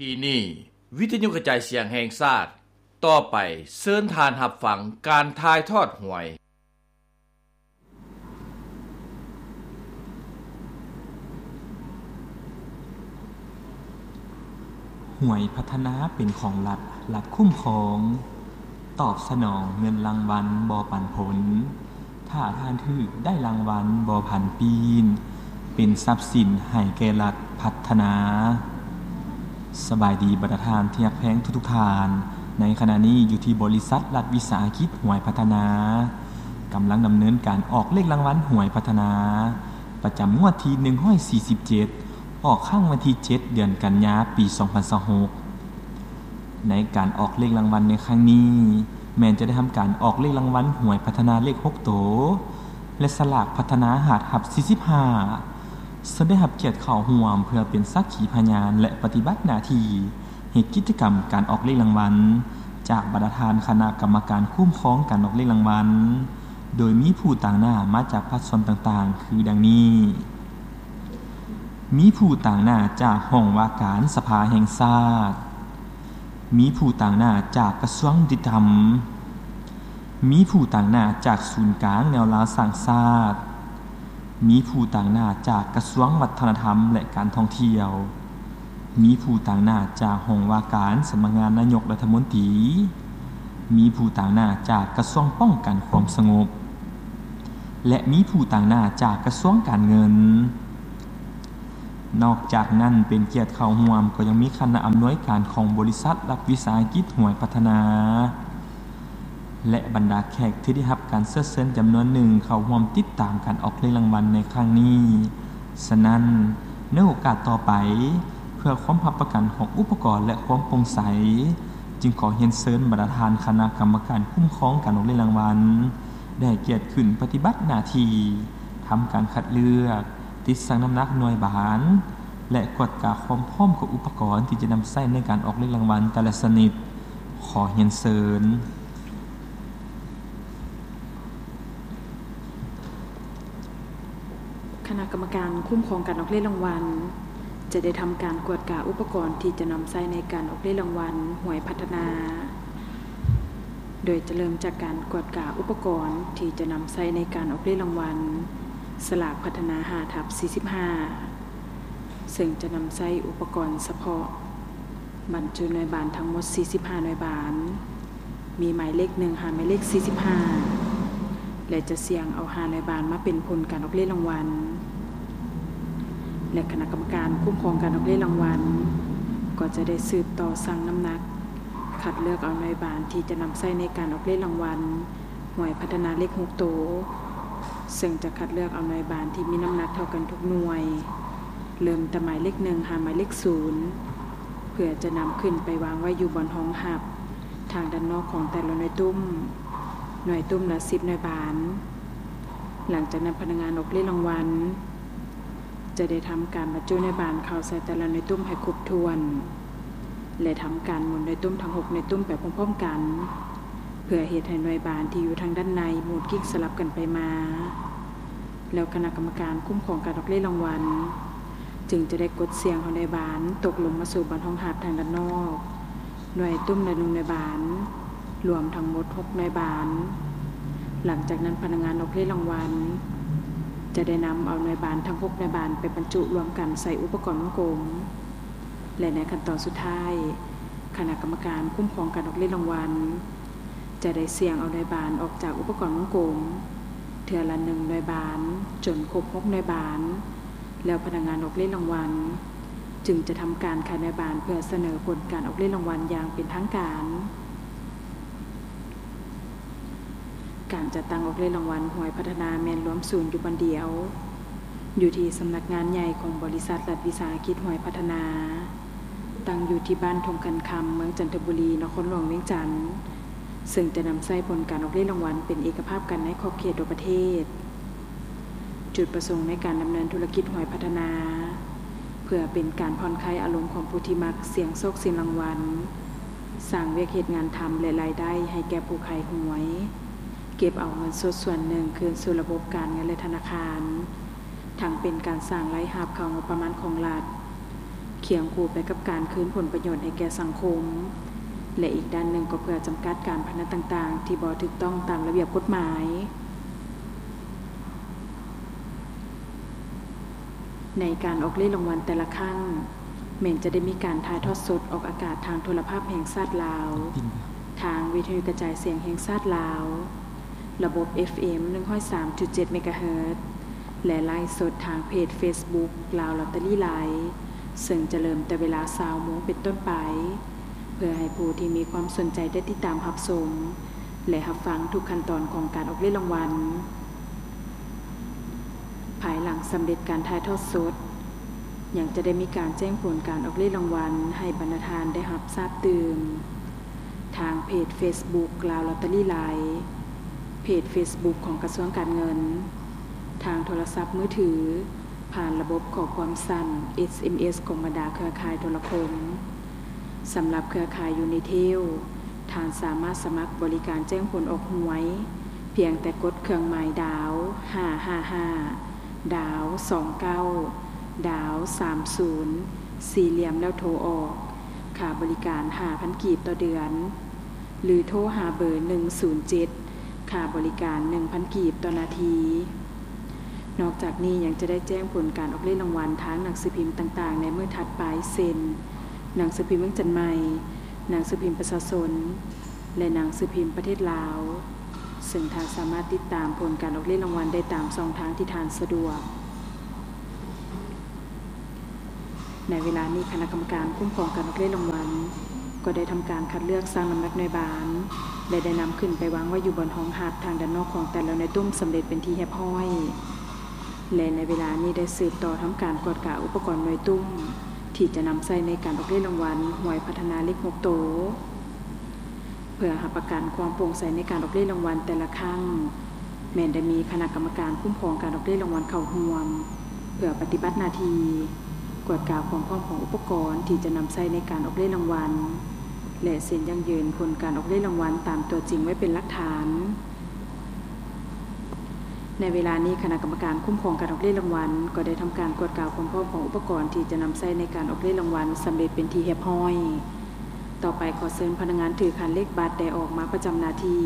ທີ່ນີ້ ວິທະຍຸກະຈາຍສຽງແຫ່ງຊາດ, ຕໍ່ໄປເຊີນທ່ານຮັບຟັງການຖ່າຍທອດຫວຍ. ຫວຍພັດທະນາເປັນຂອງລັດ, ລັດຄຸ້ມຄອງ, ຕອບສະໜອງເງິນລາງວັນບໍ່ປັນຜົນ, ຖ້າທ່ານຖືກໄດ້ລາງວັນບໍ່ຜັນປີນ, ເປັນຊັບສິນໃຫ້ແກ່ລັດພັດທະນາ. ສະບາຍດີບັນດາທ່ານທີ່ຮັກແພງທຸກໆທ່ານ, ໃນຂະນະນີ້ຢູ່ທີ່ບໍລິສັດລັດວິສາຫະກິດຫວຍພັດທະນາ ກຳລັງດຳເນີນການອອກເລກລາງວັນຫວຍພັດທະນາ ປະຈຳງວດທີໜຶ່ງຮ້ອຍສີ່ສິບເຈັດ ອອກຄັ້ງວັນທີເຈັດ ເດືອນກັນຍາ ປີສອງພັນຊາວຫົກ. ໃນການອອກເລກລາງວັນໃນຄັ້ງນີ້ ແມ່ນຈະໄດ້ທຳການອອກເລກລາງວັນຫວຍພັດທະນາເລກຫົກໂຕ ແລະ ສະຫຼາກພັດທະນາຮະດັບສີ່ສິບຫ້າ ເຊິ່ງໄດ້ຮັບກຽດເຂົ້າຮ່ວມເພື່ອເປັນສັກຂີພະຍານ ແລະ ປະຕິບັດໜ້າທີ່ເຮັດກິດຈະກຳການອອກເລກລາງວັນ ຈາກບັນດາທ່ານຄະນະກຳມະການຄຸ້ມຄອງການອອກເລກລາງວັນ ໂດຍມີຜູ້ຕາງໜ້າມາຈາກພາກສ່ວນຕ່າງໆ ຄືດັ່ງນີ້. ມີຜູ້ຕາງໜ້າຈາກຫ້ອງວ່າການສະພາແຫ່ງຊາດ, ມີຜູ້ຕາງໜ້າຈາກກະຊວງຍຸຕິທຳ, ມີຜູ້ຕາງໜ້າຈາກສູນກາງແນວລາວສ້າງຊາດ, ມີຜູ້ຕາງໜ້າຈາກກະຊວງວັດທະນະທຳ ແລະ ການທ່ອງທ່ຽວ, ມີຜູ້ຕາງໜ້າຈາກຫ້ອງວ່າການສຳນັກງານນາຍົກລັດຖະມົນຕີ, ມີຜູ້ຕາງໜ້າຈາກກະຊວງປ້ອງກັນຄວາມສະຫງົບ ແລະ ມີຜູ້ຕາງໜ້າຈາກກະຊວງການເງິນ. ນອກຈາກນັ້ນ ເປັນກຽດເຂົ້າຮ່ວມກໍຍັງມີຄະນະອຳນວຍການຂອງບໍລິສັດລັດວິສາຫະກິດຫວຍພັດທະນາ ແລະ ບັນດາແຂກທີ່ໄດ້ຮັບການເຊີນເຊີນຈຳນວນໜຶ່ງເຂົ້າຮ່ວມຕິດຕາມການອອກເລກລາງວັນໃນຄັ້ງນີ້. ສະນັ້ນ, ໃນໂອກາດຕໍ່ໄປ, ເພື່ອຄວາມຮັບປະກັນຂອງອຸປະກອນ ແລະ ຄວາມໂປ່ງໃສ, ຈຶ່ງຂໍຮຽນເຊີນບັນດາທ່ານຄະນະກຳມະການຄຸ້ມຄອງການອອກເລກລາງວັນ ໄດ້ໃຫ້ກຽດຂຶ້ນປະຕິບັດໜ້າທີ່ ທຳການຄັດເລືອກ, ຕິດຊັ່ງນ້ຳໜັກໜ່ວຍບານ ແລະ ກວດກາຄວາມພ້ອມຂອງອຸປະກອນທີ່ຈະນຳໃຊ້ໃນການອອກເລກລາງວັນແຕ່ລະຊະນິດ. ຂໍຮຽນເຊີນ. ຄະນະກຳມະການຄຸ້ມຄອງການອອກເລກລາງວັນ ຈະໄດ້ທຳການກວດກາອຸປະກອນທີ່ຈະນຳໃຊ້ໃນການອອກເລກລາງວັນຫວຍພັດທະນາ, ໂດຍຈະເລີ່ມຈາກການກວດກາອຸປະກອນທີ່ຈະນຳໃຊ້ໃນການອອກເລກລາງວັນສະຫຼາກພັດທະນາຫ້າທັບສີ່ສິບຫ້າ ເຊິ່ງຈະນຳໃຊ້ອຸປະກອນສະເພາະ ບັນຈຸໜ່ວຍບານທັງໝົດສີ່ສິບຫ້າໜ່ວຍບານ, ມີໝາຍເລກໜຶ່ງຫາໝາຍເລກສີ່ສິບຫ້າ ແລະ ຈະສ່ຽງເອົາຫ້າໜ່ວຍບານມາເປັນຜົນການອອກເລກລາງວັນ ແລະ ຄະນະກຳມະການຄຸ້ມຄອງການອອກເລກລາງວັນ ກໍຈະໄດ້ສືບຕໍ່ຊັ່ງນ້ຳໜັກ ຄັດເລືອກເອົາໜ່ວຍບານທີ່ຈະນຳໃຊ້ໃນການອອກເລກລາງວັນ ຫວຍພັດທະນາເລກຫົກໂຕ, ເຊິ່ງຈະຄັດເລືອກເອົາໜ່ວຍບານທີ່ມີນ້ຳໜັກເທົ່າກັນທຸກໜ່ວຍ, ເລີ່ມແຕ່ໝາຍເລກໜຶ່ງຫາໝາຍເລກສູນ ເພື່ອຈະນຳຂຶ້ນໄປວາງໄວ້ຢູ່ບ່ອນຮອງຮັບທາງດ້ານນອກຂອງແຕ່ລະໜ່ວຍຕຸ້ມ, ໜ່ວຍຕຸ້ມລະສິບໜ່ວຍບານ. ຫຼັງຈາກນັ້ນພະນັກງານອອກເລກລາງວັນ ຈະໄດ້ທຳການບັນຈຸໜ່ວຍບານເຂົ້າໃສ່ແຕ່ລະໜ່ວຍຕຸ້ມໃຫ້ຄົບຖ້ວນ ແລະ ທຳການໝູນໜ່ວຍຕຸ້ມທັງຫົກໜ່ວຍຕຸ້ມໄປພ້ອມໆກັນ ເພື່ອເຮັດໃຫ້ໜ່ວຍບານທີ່ຢູ່ທາງດ້ານໃນໝູນກິ້ງສະຫຼັບກັນໄປມາ. ແລ້ວຄະນະກຳມະການຄຸ້ມຄອງການອອກເລກລາງວັນ ຈຶ່ງຈະໄດ້ກົດສ່ຽງເອົາໜ່ວຍບານຕົກລົງມາສູ່ບ່ອນຮອງຮັບທາງດ້ານນອກ. ໜ່ວຍຕຸ້ມລະໜຶ່ງໜ່ວຍບານ, ລວມທັງໝົດຫົກໜ່ວຍບານ. ຫຼັງຈາກນັ້ນພະນັກງານອອກເລກລາງວັນ ຈະໄດ້ນຳເອົາໜ່ວຍບານທັງຫົກໜ່ວຍບານໄປບັນຈຸລວມກັນໃສ່ອຸປະກອນວົງກົມ ແລະ ໃນຂັ້ນຕອນສຸດທ້າຍ, ຄະນະກຳມະການຄຸ້ມຄອງການອອກເລກລາງວັນ ຈະໄດ້ສ່ຽງເອົາໜ່ວຍບານອອກຈາກອຸປະກອນວົງກົມ ເທື່ອລະໜຶ່ງໜ່ວຍບານ ຈົນຄົບຫົກໜ່ວຍບານ. ແລ້ວພະນັກງານອອກເລກລາງວັນ ຈຶ່ງຈະທຳການຂາຍໜ່ວຍບານເພື່ອສະເໜີຜົນການອອກເລກລາງວັນຢ່າງເປັນທາງການ. ການຈັດຕັ້ງອອກເລກລາງວັນຫວຍພັດທະນາແມ່ນລວມສູນຢູ່ບ່ອນດຽວ ຢູ່ທີ່ສຳນັກງານໃຫຍ່ຂອງບໍລິສັດລັດວິສາຫະກິດຫວຍພັດທະນາ, ຕັ້ງຢູ່ທີ່ບ້ານທົ່ງຄັນຄຳ ເມືອງຈັນທະບູລີ ນະຄອນຫຼວງວຽງຈັນ. ເຊິ່ງຈະນຳໃຊ້ຜົນການອອກເລກລາງວັນເປັນເອກະພາບກັນໃນຂອບເຂດທົ່ວປະເທດ. ຈຸດປະສົງໃນການດຳເນີນທຸລະກິດຫວຍພັດທະນາ ເພື່ອເປັນການຜ່ອນຄາຍອາລົມຂອງຜູ້ທີ່ມັກສ່ຽງໂຊກສ່ຽງລາງວັນ, ສ້າງວຽກເຮັດງານທຳ ແລະ ລາຍໄດ້ໃຫ້ແກ່ຜູ້ຂາຍຫວຍ, ເກັບເອົາເງິນສົດສ່ວນໜຶ່ງຄືນສູ່ລະບົບການເງິນ ແລະ ທະນາຄານ. ທັງເປັນການສ້າງລາຍຮັບເຂົ້າງົບປະມານຂອງລັດ, ຄຽງຄູ່ໄປກັບການຄືນຜົນປະໂຫຍດໃຫ້ແກ່ສັງຄົມ ແລະ ອີກດ້ານໜຶ່ງກໍເພື່ອຈຳກັດການພະນັນຕ່າງໆ ທີ່ບໍ່ຖືກຕ້ອງຕາມລະບຽບກົດໝາຍ. ໃນການອອກເລກລາງວັນແຕ່ລະຄັ້ງ ແມ່ນຈະໄດ້ມີການຖ່າຍທອດສົດອອກອາກາດທາງໂທລະພາບແຫ່ງຊາດລາວ, ທາງວິທະຍຸກະຈາຍສຽງແຫ່ງຊາດລາວ, ລະບົບເອັຟເອັມ ໜຶ່ງຮ້ອຍສາມຈຸດເຈັດ ເມກາເຮີດ ແລະ ໄລຟ໌ສົດທາງເພຈເຟສບຸກ ລາວລອດເຕີຣີໄລຟ໌ ເຊິ່ງຈະເລີ່ມແຕ່ເວລາ ຊາວໂມງ ເປັນຕົ້ນໄປ ເພື່ອໃຫ້ຜູ້ທີ່ມີຄວາມສົນໃຈໄດ້ຕິດຕາມຮັບຊົມ ແລະ ຮັບຟັງທຸກຂັ້ນຕອນຂອງການອອກເລກລາງວັນ. ພາຍຫຼັງສຳເລັດການຖ່າຍທອດສົດ, ຍັງຈະໄດ້ມີການແຈ້ງຜົນການອອກເລກລາງວັນໃຫ້ບັນດາທ່ານໄດ້ຮັບຊາບຕື່ມ ທາງເພຈເຟສບຸກ ລາວລອດເຕີຣີໄລຟ໌, ເພຈເຟສບຸກຂອງກະຊວງການເງິນ, ທາງໂທລະສັບມືຖື, ຜ່ານລະບົບຂໍ້ຄວາມສັ້ນ ເອສເອັມເອສ ຂອງບັນດາເຄືອຂ່າຍໂທລະຄົມ. ສຳລັບເຄືອຂ່າຍຢູນິເທລ, ທ່ານສາມາດສະໝັກບໍລິການແຈ້ງຜົນອອກຫວຍ ພຽງແຕ່ກົດເຄື່ອງໝາຍດາວ ຫ້າຫ້າຫ້າ ດາວ ສອງເກົ້າ ດາວ ສາມສູນ ສີ່ຫຼ່ຽມ ແລ້ວໂທອອກ. ຄ່າບໍລິການ ຫ້າພັນກີບຕໍ່ເດືອນ ຫຼື ໂທຫາເບີ ໜຶ່ງສູນເຈັດ ຄ່າບໍລິການ ໜຶ່ງພັນກີບຕໍ່ນາທີ. ນອກຈາກນີ້ຍັງຈະໄດ້ແຈ້ງຜົນການອອກເລກລາງວັນທາງໜັງສືພິມຕ່າງໆໃນມື້ຖັດໄປ ເຊັ່ນ ໜັງສືພິມວຽງຈັນໃໝ່, ໜັງສືພິມປະຊາຊົນ ແລະ ໜັງສືພິມປະເທດລາວ, ເຊິ່ງທ່ານສາມາດຕິດຕາມຜົນການອອກເລກລາງວັນໄດ້ຕາມຊ່ອງທາງທີ່ທ່ານສະດວກ. ໃນເວລານີ້ຄະນະກຳມະການຄຸ້ມຄອງການອອກເລກລາງວັນ ກໍໄດ້ທຳການຄັດເລືອກ, ຊັ່ງນ້ຳໜັກໜ່ວຍບານ ແລະ ໄດ້ນຳຂຶ້ນໄປວາງໄວ້ຢູ່ບ່ອນຮອງຮັບທາງດ້ານນອກຂອງແຕ່ລະໜ່ວຍຕຸ້ມສຳເລັດເປັນທີ່ຮຽບຮ້ອຍ ແລະ ໃນເວລານີ້ໄດ້ສືບຕໍ່ທຳການກວດກາອຸປະກອນໜ່ວຍຕຸ້ມ ທີ່ຈະນຳໃຊ້ໃນການອອກເລກລາງວັນຫວຍພັດທະນາເລກຫົກໂຕ. ເພື່ອຮັບປະກັນຄວາມໂປ່ງໃສໃນການອອກເລກລາງວັນແຕ່ລະຄັ້ງ, ແມ່ນໄດ້ມີຄະນະກຳມະການຄຸ້ມຄອງການອອກເລກລາງວັນເຂົ້າຮ່ວມ ເພື່ອປະຕິບັດໜ້າທີ່ ກວດກາຄວາມພ້ອມຂອງອຸປະກອນທີ່ຈະນຳໃຊ້ໃນການອອກເລກລາງວັນ ແລະ ເຊັນຢັ້ງຢືນຜົນການອອກເລກລາງວັນຕາມຕົວຈິງໄວ້ເປັນຫຼັກຖານ. ໃນເວລານີ້ຄະນະກຳມະການຄຸ້ມຄອງການອອກເລກລາງວັນ ກໍໄດ້ທຳການກວດກາຄວາມພ້ອມຂອງອຸປະກອນທີ່ຈະນຳໃຊ້ໃນການອອກເລກລາງວັນສຳເລັດເປັນທີ່ຮຽບຮ້ອຍ. ຕໍ່ໄປຂໍເຊີນພະນັກງານຖືຂັນເລກບັດໄດ້ອອກມາປະຈຳໜ້າທີ່.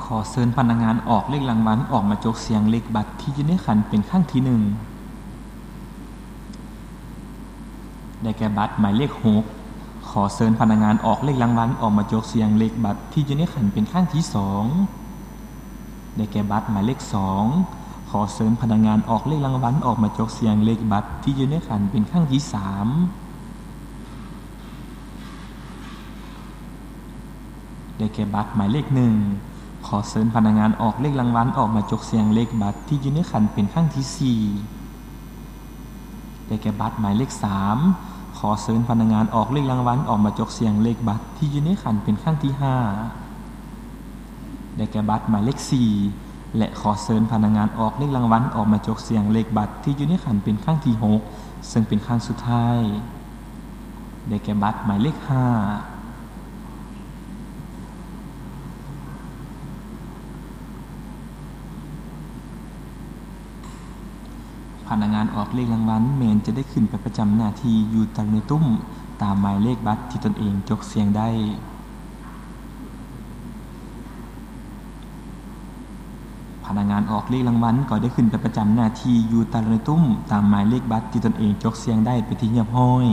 ຂໍເຊີນພະນັກງານອອກເລກລາງວັນອອກມາຈົກສ່ຽງເລກບັດທີ່ຢູ່ໃນຂັນເປັນຄັ້ງທີໜຶ່ງ. ໄດ້ແກ່ບັດໝາຍເລກຫົກ. ຂໍເຊີນພະນັກງານອອກເລກລາງວັນອອກມາຈົກສ່ຽງເລກບັດທີ່ຢູ່ໃນຂັນເປັນຄັ້ງທີສອງ. ໄດ້ແກ່ບັດໝາຍເລກສອງ. ຂໍເຊີນພະນັກງານອອກເລກລາງວັນອອກມາຈົກສ່ຽງເລກບັດທີ່ຢູ່ໃນຂັນເປັນຄັ້ງທີສາມ. ໄດ້ແກ່ບັດໝາຍເລກໜຶ່ງ. ຂໍເຊີນພະນັກງານອອກເລກລາງວັນອອກມາຈົກສ່ຽງເລກບັດທີ່ຢູ່ໃນຂັນເປັນຄັ້ງທີສີ່. ໄດ້ແກ່ບັດໝາຍເລກສາມ. ຂໍເຊີນພະນັກງານອອກເລກລາງວັນອອກມາຈົກສ່ຽງເລກບັດທີ່ຢູ່ໃນຂັນເປັນຄັ້ງທີຫ້າ. ໄດ້ແກ່ບັດໝາຍເລກສີ່ ແລະ ຂໍເຊີນພະນັກງານອອກເລກລາງວັນອອກມາຈົກສ່ຽງເລກບັດທີ່ຢູ່ໃນຂັນເປັນຄັ້ງທີຫົກ ເຊິ່ງເປັນຄັ້ງສຸດທ້າຍ. ໄດ້ແກ່ບັດໝາຍເລກຫ້າ. ພະນັກງານອອກເລກລາງວັນແມ່ນຈະໄດ້ຂຶ້ນໄປປະຈຳໜ້າທີ່ຢູ່ຕາມໜ່ວຍຕຸ້ມຕາມໝາຍເລກບັດທີ່ຕົນເອງຈົກສ່ຽງໄດ້. ພະນັກງານອອກເລກລາງວັນກໍໄດ້ຂຶ້ນໄປປະຈຳໜ້າທີ່ຢູ່ຕາມໜ່ວຍຕຸ້ມຕາມໝາຍເລກບັດທີ່ຕົນເອງຈົກສ່ຽງໄດ້ເປັນທີ່ຮຽບຮ້ອຍ.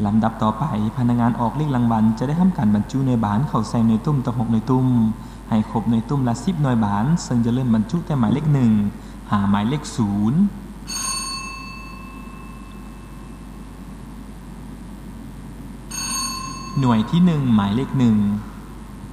ລຳດັບຕໍ່ໄປ, ພະນັກງານອອກເລກລາງວັນຈະໄດ້ທຳການບັນຈຸໜ່ວຍບານເຂົ້າໃສ່ໜ່ວຍຕຸ້ມທັງຫົກໜ່ວຍຕຸ້ມ ໃຫ້ຄົບໜ່ວຍຕຸ້ມລະສິບໜ່ວຍບານ, ເຊິ່ງຈະເລີ່ມບັນຈຸແຕ່ໝາຍເລກໜຶ່ງ ຫາໝາຍເລກສູນ. ໜ່ວຍທີໜຶ່ງ ໝາຍເລກໜຶ່ງ.